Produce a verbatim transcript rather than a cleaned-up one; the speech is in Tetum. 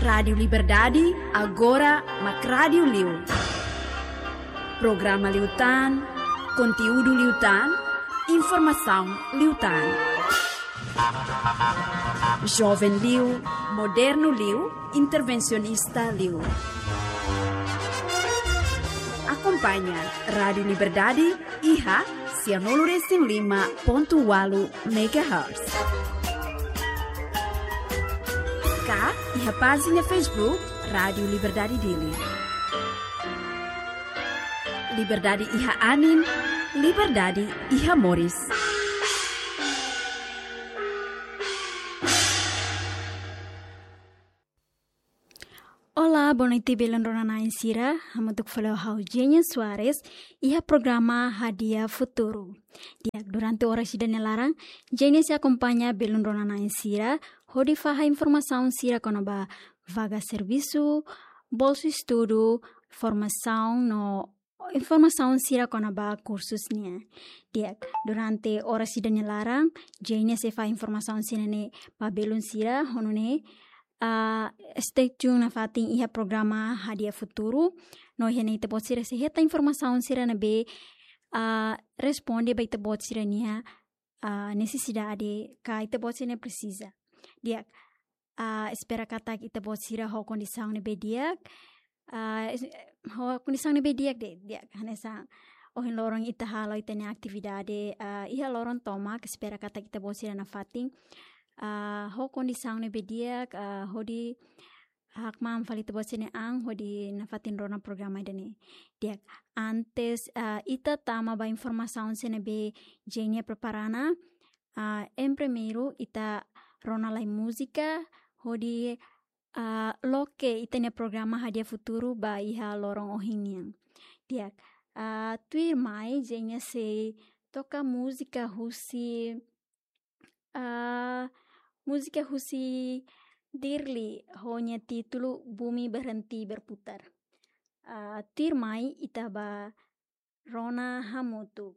Rádiu Liberdade, agora mak rádiu liu. Programa liután, konteúdu liután, informasaun liután. Joven liu, modernu liu, intervensionista liu. Akompaña Rádiu Liberdade iha sianulu resin lima pontu ualu megahertz. Ka iha pájina Facebook Rádiu Liberdade Dili. Liberdade iha anin, liberdade iha moris. Olá, boa noite, belun rona-na'in sira. Hamutuk fali ho ha'u Jenya Soares, iha programa Hadi'a Futuru. Di'ak, durante oras ida-ne'e laran, Jenya sei akompaña belun rona-na'in sira, hodi fahe informasaun sira kona-ba vaga servisu, bolsa estudu, formasaun no informasaun sira kona-ba kursus nian. Di'ak, durante oras ida-ne'e laran, Jenya sei fahe informasaun sira-ne'e ba belun sira, ho nune'e, ah, stay tune nafatin iha programa Hadi'a Futuru. No iha ne'e ita-boot sira sei hetan informasaun sira ne'ebé, ah, responde ba ita-boot sira-nia, ah, nesesidade ka ita-boot sira-nia presiza. Di'ak, ah, espera katak ita-boot sira ho kondisaun ne'ebé di'ak. Ah, es-, ho kondisaun ne'ebé di'ak de'it, di'ak. Hanesan ohin loron ita halo ita-nia atividade, ah, iha loron tomak, espera katak ita-boot sira nafatin, ah, ho kondisaun ne'ebé di'ak, ah, hodi hakmaan fali ita-boot sira-nia an, hodi nafatin rona programa ida-ne'e. Di'ak, antes, ah, ita tama ba informasaun sira ne'ebé Jenya prepara ona, ah, em primeiru ita rona lai múzika, hodi, ah, loke ita-nia programa Hadi'a Futuru ba iha loron ohin nian. Di'ak, ah, tuirmai Jenya sei toka múzika husi, ah, múzika husi Dirli ho nia títulu Bumi Berhenti Berputar. Ah, tuirmai ita bá rona hamutuk.